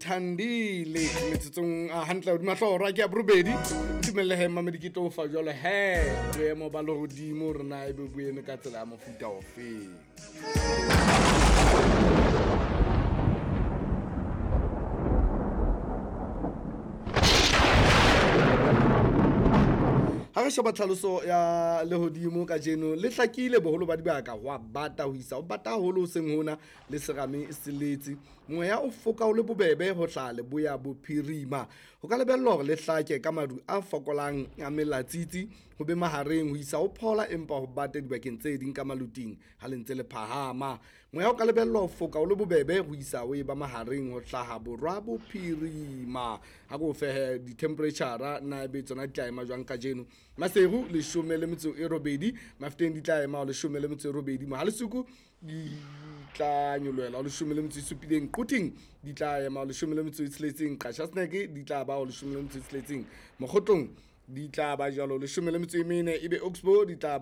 Thandile metsotsong a hantle hodima hlooho hora ke ya borobedi. Ntumelle he mmamedi ke tlo fa jwalo he boemo ba lehodimo hore na ebe bo eme ka tsela ya mofuta ofeng. Ha re sheba tlhaloso ya lehodimo kajeno le hlakile boholo ba dibaka ho a bata ho isa ho bata haholo hoseng hona le serame se letse. Moya o foka o le bobebe ho hlaha leboya bophirima. Ho ka lebellwa hore le hlake ka maru a fokolang a melatsitsi ho be mahareng ho isa ho phola empa ho bate dibakeng tse ding ka maluting ha le ntse le phahama. Moya o ka lebellwa ho foka o le bobebe ho isa ho eba mahareng ho hlaha borwa bophirima. Ha ko fehe di-temperature na ebe tsona di tla ema jwang kajeno. Maseru 18, Mafeteng di tla ema ho 18, Mohalesuku di tla nyolohela ho 17, Quthing di tla ema ho 16, Qacha's Nek di tla ba ho 16, Mokgotlong di tla ba jwalo 14, ebe Oxbow di tla